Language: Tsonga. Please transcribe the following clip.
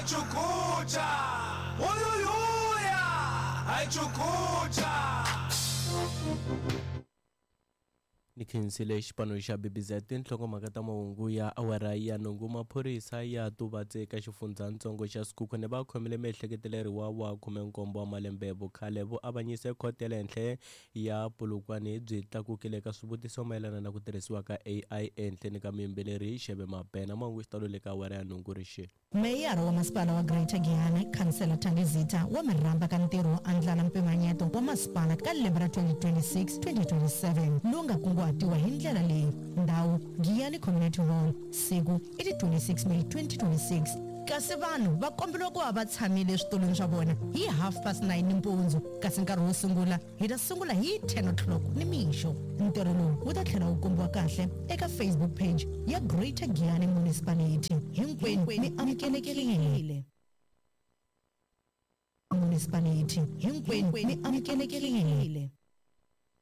Chukucha! Uyuyuya! Hi Chukucha! Ni khensile xipano xa BBZ tinhlokomhaka ta mahungu ya awara ya nhungu. Maphorisa ya Tubatse eka xifundzhantsongo xa Sekhukhune va khomile miehleketeleriwa wa 17 wa malembe vukhale. Vuavanyisi khoto ya le henhla ya Polokwane byi tlakukile eka swivutiso mayelana na ku tirhisiwa ka AI ehenhleni ka muyimbeleri Xeve Mabena. Mahungu xitalo le ka awara ya nhungu rixile. Meyara wa Masipala wa Greater Giyani, Khansela Thandi Zitha wa mi rhamba ka ntirho wo andlala mpimanyeto wa masipala ka lembe ra 2026, 2027 lowu nga kunguhatiwa hi ndlela leyi, Ndhawu, Giyani Community Hall, siku i ti 26 May 2026, kasi vanhu va komberiwa ku va va tshamile eswitulwini swa vona hi 9:30 nimpundzu kasi nkarhi wo sungula Hi ta sungula hi 10 o'clock nimixo. Ntirho lowu wu ta tlhela wu kombiwa kahle eka Facebook page ya Greater Giyani Municipality. Hinkwenu mi amukelekile. Municipality. Hinkwenu mi amukelekile.